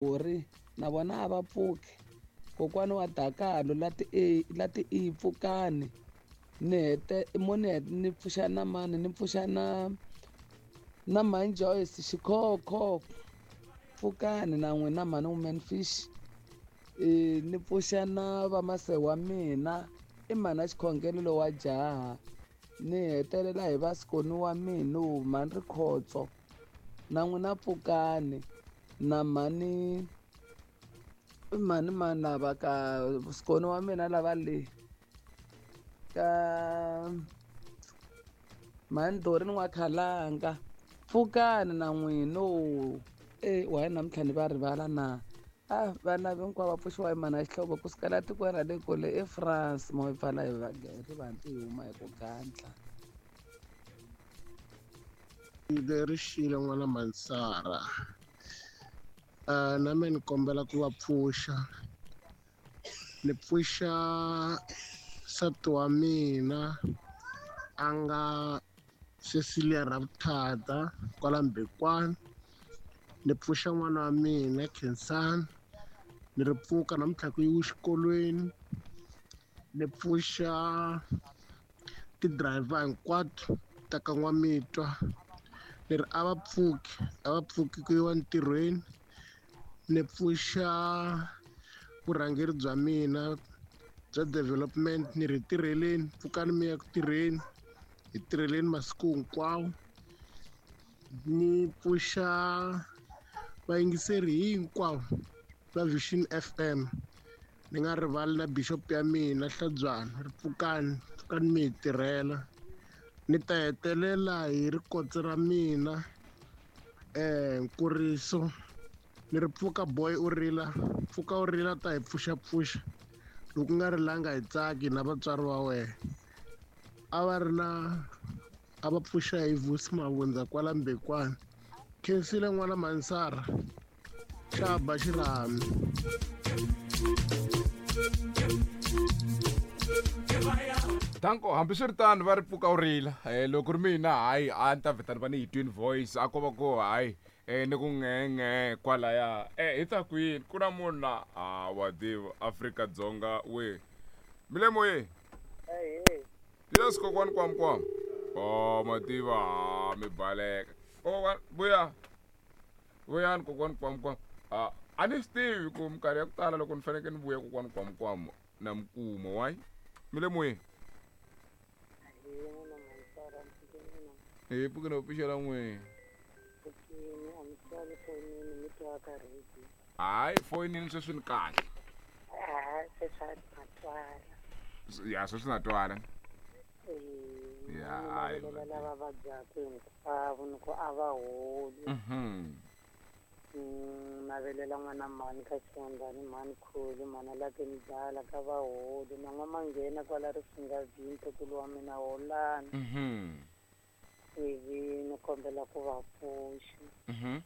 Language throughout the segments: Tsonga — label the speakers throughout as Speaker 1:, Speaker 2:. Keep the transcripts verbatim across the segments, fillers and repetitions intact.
Speaker 1: Ri na vona a va pfuki. Kokwani wa Dakalo la ti e la ti i pfukani ni hete mo ni ni pfuxa na mani ni pfuxa na na mhani Joyce Xikhokho pfukani na n'wina mhani Woman Fish. Ni pfuxa na vamase wa mina i mhani a xikhongelo lowa jaha ni hetelela hi vasikoni wa mina mhani Rikhotso na n'wina pfukani na mhani i mhani mani lava ka sikoni wa mina lava le ka mhani Dorini N'wakhalanga pfukani na n'wina e why namuntlha ni va rivala na a vana hinkwavo va pfuxiwa hi mhani Xihlovo kusukela tikweni ra le kule eFrance mo yi pfala hi rivanti hi huma hi ku gandla.
Speaker 2: Leri xile n'wana Mansara uh, na me ni kombela ku va pfuxa ni pfuxa nsati wa mina a nga Cecilia Ravuthata kwala Mbekwana ni pfuxa n'wana wa mina Khensani ni ri pfuka namuntlha ku yiwa xikolweni ni pfuxa ti-driver hinkwato ta ka N'wamitwa ni ri a va pfuki a va pfuki ku yiwa ntirhweni ni pfuxa vurhangeri bya mina bya development ni ri tirheleni pfukani mi ya ku tirheni hi tirheleni masiku hinkwawo ni pfuxa vayingiseri hinkwavo va Vision F M ni nga rivali na bishop ya mina Hlabyana ri pfukani pfukani mi hi tirhela ni ta hetelela hi rikotsi ra mina eh Nkuriso ni ri pfuka boy u rila pfuka u rila ta hi pfuxapfuxa loko nga rilanga hi tsaki na vatswari va wena a va ri na a va pfuxa hi Vusi Mavundza kwala Mbekwana khensile n'wana Mansara xa ba xirhami.
Speaker 3: Danko hambiswiritano va ri pfuka u rila eh, loko ri mina hayi a ni ta vheta ni va ni yi twin voice a ko va ku hayi eh, ni ku ngenge kwalaya eh, hi ta kwini ku na munhu la a wa tiva Afrika-Dzonga we mi le moyeni yes kokwani kwam kwam oh mativa ha mi baleka kokwani vuya vuyani kokwani kwam kwam a a ni swi tivi ku minkarhi ya ku tala loko ni fanekele ni vuya kokwani kwam kwam na mi kuma why mi le moyeni hi pfuke no pfuxela n'wini hayi foyinini sweswi ni kahle ya sweswi na twala ya hayi
Speaker 4: lava vabyaka hinkwavo ni ku a va holi
Speaker 3: mhm
Speaker 4: navelela n'wana mhani ka Xihundlani mhani Khulu mhani Lake Mdala ka va holi na n'wamanghena kwala Risingavini ntukulu wa mina holani
Speaker 3: mhm
Speaker 4: ivi ni kombela ku va pfuxa
Speaker 3: mhm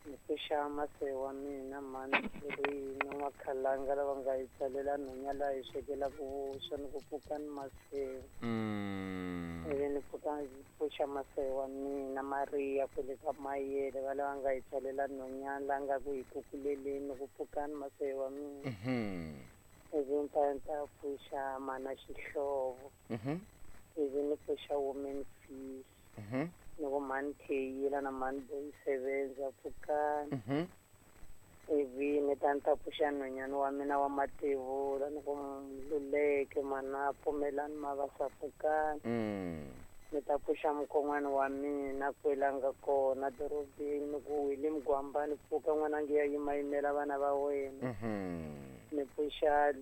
Speaker 4: ni pfuxa mase wa mina mhani Khulu na N'wakhalanga lava nga hi tsalela nhunya laha hi swekelaka vuswa ni ku pfuka ni masewu
Speaker 3: mm
Speaker 4: ivi ni pfuka pfuxa mase wa mina Maria kwele ka Mayele va lava nga hi tsalela nhunyana la nga ku hi kukuleleni ni ku pfuka ni mase wa mina
Speaker 3: mhm
Speaker 4: ivi ni ta ni ta pfuxa mana Xihlovo
Speaker 3: mhm
Speaker 4: ivi ni pfuxa Woman Fish
Speaker 3: mhm
Speaker 4: ni ku mhani Theyila na mhani Boy Sevenza pfukani
Speaker 3: mhm
Speaker 4: ivi ni ta ni ta pfuxa nhwanyana wa mina wa mativula ni ku Luleke mana pfumelani mavasa pfukani
Speaker 3: mm
Speaker 4: ni ta pfuxa mukon'wana wa mina kwela nga kona dorobeni ni ku Willie Mugwambani pfuka n'wananga ya yimayimela vana va wena
Speaker 3: mhm
Speaker 4: ni pfuxa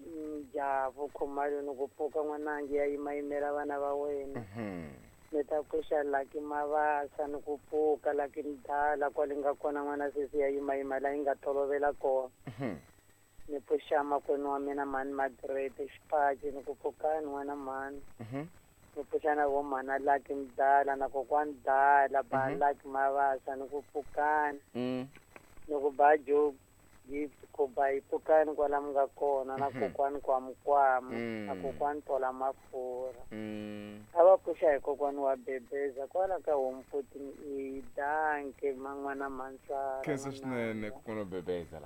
Speaker 4: Javu Khumalo ni ku pfuka n'wananga ya yimayimela vana va wena
Speaker 3: mhm
Speaker 4: ni ta pfuxa Lucky Mavasa ni ku pfuka Lucky Mdala kwale nga kona n'wana sesi ya yimayima la yi nga tolovela kona
Speaker 3: mhm
Speaker 4: ni pfuxa makwenu wa mina mhani Margaret Xipaci ni ku pfukani n'wana mhani
Speaker 3: mhm
Speaker 4: ni pfuxa na vo mhana Lucky Mdala na kokwani Dala ba
Speaker 3: Mhm.
Speaker 4: Lucky Mavasa ni ku pfukani
Speaker 3: mm
Speaker 4: ni ku ba Joe Gift Kobayi pfukani kwala mi nga kona na kokwani Kwamukwama na
Speaker 3: Mm.
Speaker 4: kokwani Tola Mafurha.
Speaker 3: Mm.
Speaker 4: A va pfuxa hi kokwani wa Bebeza kwala ka home fourteen E danke man'wana mansara.
Speaker 3: Khensa swinene kokwana wa Bebeza la.